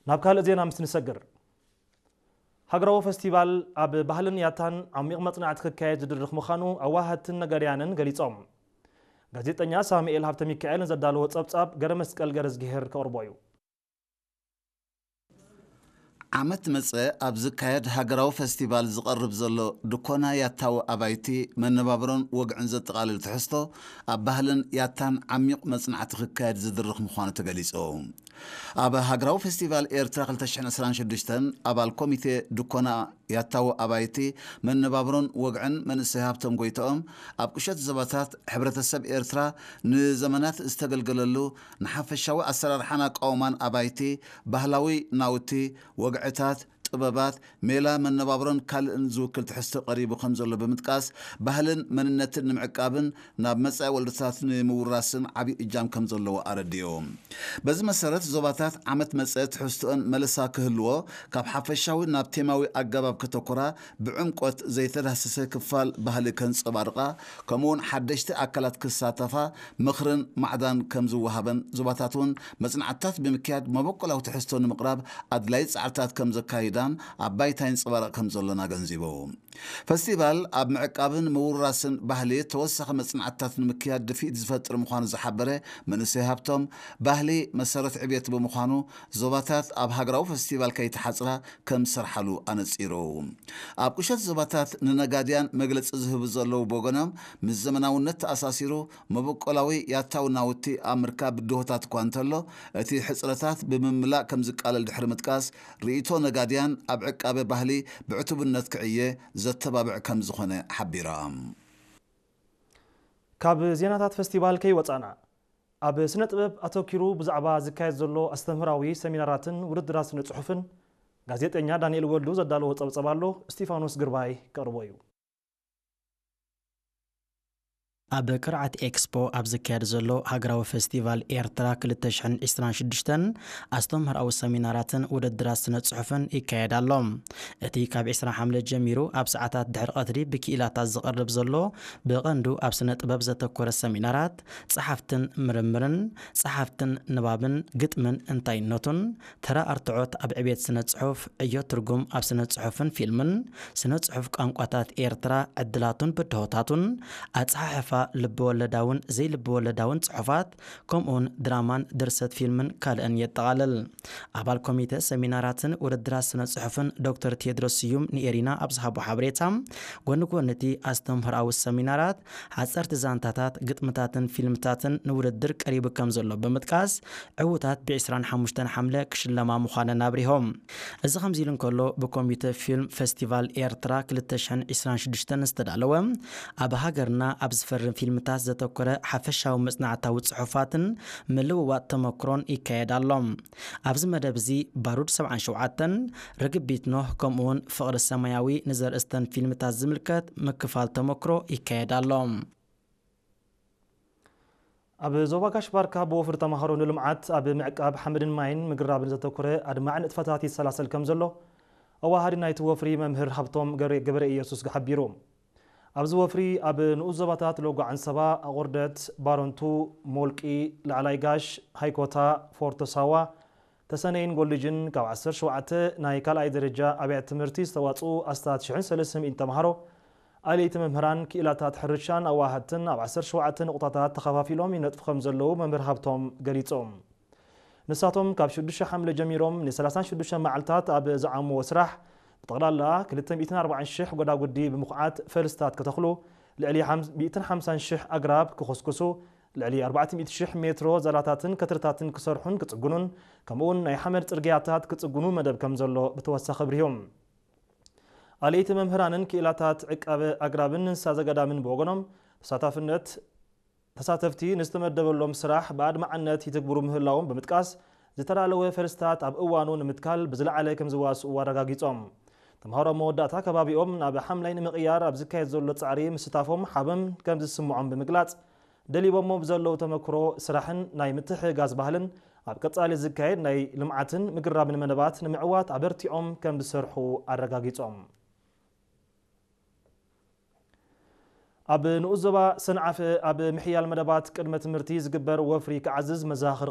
ናብ ካልእ ዜና ምስ ንሰግር፣ ሃገራዊ ፈስቲቫል ኣብ ባህልን ያታን ዓሚቕ መጽናዕቲ ክካየድ ዝድርኽ ምዃኑ ኣዋሃድትን ነጋድያንን ገሊጾም። ጋዜጠኛ ሳሙኤል ሃብተ ሚካኤል ንዘዳለዎ ጸብጻብ ገረ መስቀል ገረዝግሄር ከቕርቦ እዩ። ዓመት መጸ ኣብ ዝካየድ ሃገራዊ ፈስቲቫል ዝቐርብ ዘሎ ድኮና ያታዊ ኣባይቲ መነባብሮን ወግዕን ዘጠቓልል ትሕዝቶ ኣብ ባህልን ያታን ዓሚቕ መጽናዕቲ ክካየድ ዝድርኽ ምዃኑ ተገሊጹ። ኣብ ሃገራዊ ፈስቲቫል ኤርትራ ክልተ ሽሕን ዕስራን ሽዱሽተን ኣባል ኮሚቴ ድኮና ያታዊ ኣባይቲ መነባብሮን ወግዕን መንእሰይ ሃብቶም ጎይትኦም ኣብ ቁሸት ዞባታት ሕብረተሰብ ኤርትራ ንዘመናት ዝተገልገለሉ ንሓፈሻዊ ኣሰራርሓን ኣቃውማን ኣባይቲ፣ ባህላዊ ናውቲ፣ ወግዕታት፣ ጥበባት፣ ሜላ መነባብሮን ካልእን ዝውክል ትሕዝቶ ቀሪቡ ከም ዘሎ ብምጥቃስ፣ ባህልን መንነትን ንምዕቃብን ናብ መጻኢ ወለዶታት ንምውራስን ዓቢ እጃም ከም ዘለዎ ኣረዲኡ። በዚ መሰረት ዞባታት ዓመት መጸ ትሕዝቶኦን መለሳ ክህልዎ ካብ ሓፈሻዊ ናብ ቴማዊ ኣገባብ ከተኮራ፣ ብዕምቆት ዘይተዳህሰሰ ክፋል ባህሊ ከንጸባርቓ፣ ከምኡውን ሓደሽቲ ኣካላት ክሳተፋ ምኽርን ማዕዳን ከም ዝወሃበን ዞባታት እውን መጽናዕትታት ብምክያድ መበቆላዊ ትሕዝቶ ንምቕራብ ኣድላይ ጻዕርታት ከም ዘካይዳን ኣብ ባይታ ይንጸባረቕ ከም ዘሎን ኣገንዚቡ። ፈስቲቫል ኣብ ምዕቃብን ምውራስን ባህሊ ተወሳኺ መጽናዕትታት ንምክያድ ድፍኢት ዝፈጥር ምዃኑ ዝሓበረ መንእሰይ ሃብቶም፣ ባህሊ መሰረት ዕብየት ብምዃኑ ዞባታት ኣብ ሃገራዊ ፈስቲቫል ከይተሓጽራ ከም ዝሰርሓሉ ኣነጺሩ። ኣብ ቁሸት ዞባታት ንነጋድያን መግለጺ ዝህቡ ዘለዉ ብወገኖም፣ ምስ ዘመናውነት ተኣሳሲሩ መበቆላዊ ያታዊ ናውቲ ኣብ ምርካብ ብድሆታት እኳ እንተሎ፣ እቲ ሕጽረታት ብምምላእ ከም ዝቃለል ድሕሪ ምጥቃስ፣ ርእይቶ ነጋድያን ኣብ ዕቃበ ባህሊ ብዕቱብነት ክዕየ ዘተባብዕ ከም ዝኾነ ሓቢራ። ካብ ዜናታት ፈስቲቫል ከይወጻና፣ ኣብ ስነ ጥበብ ኣተኪሩ ብዛዕባ ዝካየድ ዘሎ ኣስተምህራዊ ሰሚናራትን ውድድራት ስነ ጽሑፍን ጋዜጠኛ ዳንኤል ወልዱ ዘዳለዎ ጸብጸብ ኣሎ። እስቲፋኖስ ግርባይ ከቕርቦ እዩ። ኣብ ቅርዓት ኤክስፖ ኣብ ዝካየድ ዘሎ ሃገራዊ ፈስቲቫል ኤርትራ ክልተ ሽሕን ዕስራን ሽዱሽተን ኣስተምህራዊ ሰሚናራትን ውድድራት ስነ ጽሑፍን ይካየድ ኣሎ። እቲ ካብ ዕስራ ሓምለ ጀሚሩ ኣብ ሰዓታት ድሕሪ ቀትሪ ብክኢላታት ዝቐርብ ዘሎ ብቐንዱ ኣብ ስነ ጥበብ ዘተኮረ ሰሚናራት፣ ጸሓፍትን ምርምርን፣ ጸሓፍትን ንባብን፣ ግጥምን እንታይነቱን፣ ተራ ኣርትዖት ኣብ ዕቤት ስነ ጽሑፍ፣ ዕዮ ትርጉም ኣብ ስነ ጽሑፍን ፊልምን፣ ስነ ጽሑፍ ቋንቋታት ኤርትራ፣ ዕድላቱን ብድሆታቱን፣ ኣጸሓሕፋ ልብወለዳውን ዘይልብወለዳውን ጽሑፋት፣ ከምኡውን ድራማን ድርሰት ፊልምን ካልእን የጠቓልል። ኣባል ኮሚተ ሰሚናራትን ውድድራት ስነ ጽሑፍን ዶክተር ቴድሮስ ስዩም ንኤሪና ኣብ ዝሃቦ ሓበሬታ፣ ጎኒ ጎኒ እቲ ኣስተምህሮኣዊ ሰሚናራት፣ ሓጸርቲ ዛንታታት፣ ግጥምታትን ፊልምታትን ንውድድር ቀሪቡ ከም ዘሎ ብምጥቃስ፣ ዕዉታት ብ ዕስራን ሓሙሽተን ሓምለ ክሽለማ ምዃነን ኣብሪሆም። እዚ ከምዚ ኢሉ እንከሎ፣ ብኮሚተ ፊልም ፈስቲቫል ኤርትራ ክልተ ሽሕን ዕስራን ሽዱሽተን ዝተዳለወ፣ ኣብ ሃገርና ኣብ ዝፈርም ፊልምታት ዘተኮረ ሓፈሻዊ መጽናዕታዊ ጽሑፋትን ምልውዋጥ ተመክሮን ይካየድ ኣሎ። ኣብዚ መደብ እዚ ባሩድ ሰብዓን ሸውዓተን፣ ርግቢት ኖህ፣ ከምኡውን ፍቕሪ ሰማያዊ ንዘርእስተን ፊልምታት ዝምልከት ምክፋል ተመክሮ ይካየድ ኣሎ። ኣብ ዞባ ጋሽ ባርካ ብወፍሪ ተማሃሮ ንልምዓት ኣብ ምዕቃብ ሓመድን ማይን ምግራብን ዘተኮረ ኣድማዒ ንጥፈታት ይሰላሰል ከም ዘሎ ኣዋሃዲ ናይቲ ወፍሪ መምህር ሃብቶም ገብረ ገበረ ኢየሱስ ሓቢሩ። ኣብዚ ወፍሪ ኣብ ንኡስ ዞባታት ሎጎ ዓንሰባ፣ ኣቑርደት፣ ባረንቱ፣ ሞልቂ፣ ላዕላይ ጋሽ፣ ሃይኮታ፣ ፎርቶ ሳዋ፣ ተሰነይን ጎልጅን ካብ ዓሰርተ ሸውዓተ ናይ ካልኣይ ደረጃ ኣብያተ ትምህርቲ ዝተዋፅኡ ኣስታት ሽሕን ሰለስተ ሚእትን ተምሃሮ፣ ኣለይቲ መምህራን፣ ክኢላታት ሕርሻን ኣዋሃድትን ኣብ ዓሰርተ ሸውዓተ ንቑጣታት ተኸፋፊሎም ይነጥፉ ከም ዘለዉ መምህር ሃብቶም ገሊጾም። ንሳቶም ካብ ሽዱሽተ ሓምለ ጀሚሮም ን ሰላሳን ሽዱሽተን መዓልታት ኣብ ዝዓምዎ ስራሕ ብጠቕላላ ክልተ ሚእትን ኣርባዓን ሽሕ ጎዳጉዲ ብምኹዓት ፈልስታት ክተኽሉ፣ ልዕሊ ሚእትን ሓምሳን ሽሕ ኣግራብ ክኹስኩሱ፣ ልዕሊ ኣርባዕተ ሚእቲ ሽሕ ሜትሮ ዛላታትን ከትርታትን ክሰርሑን ክጽግኑን፣ ከምኡውን ናይ ሓመድ ጽርግያታት ክጽግኑ መደብ ከም ዘሎ ብተወሳኺ ኣብሪሆም። ኣለይቲ መምህራንን ክኢላታት ዕቃበ ኣግራብን እንስሳ ዘገዳምን ብወገኖም ተሳታፍነት ተሳተፍቲ ንዝተመደበሎም ስራሕ ብኣድማዕነት ይትግብሩ ምህላዎም ብምጥቃስ፣ ዝተዳለወ ፈልስታት ኣብ እዋኑ ንምትካል ብዝለዓለ ከም ዝዋስኡ ኣረጋጊጾም። ተምሃሮ መወዳእታ ከባቢኦም ናብ ሓምላይ ንምቕያር ኣብ ዝካየድ ዘሎ ጻዕሪ ምስታፎም ሓበን ከም ዝስምዖም ብምግላጽ፣ ደሊቦሞ ብዘለዉ ተመክሮ ስራሕን ናይ ምትሕግጋዝ ባህልን ኣብ ቀጻሊ ዝካየድ ናይ ልምዓትን ምግራብን መደባት ንምዕዋት ኣበርቲዖም ከም ዝሰርሑ ኣረጋጊጾም። ኣብ ንኡስ ዞባ ሰንዓፈ ኣብ ምሕያል መደባት ቅድመ ትምህርቲ ዝግበር ወፍሪ ክዓዝዝ መዘኻኸሪ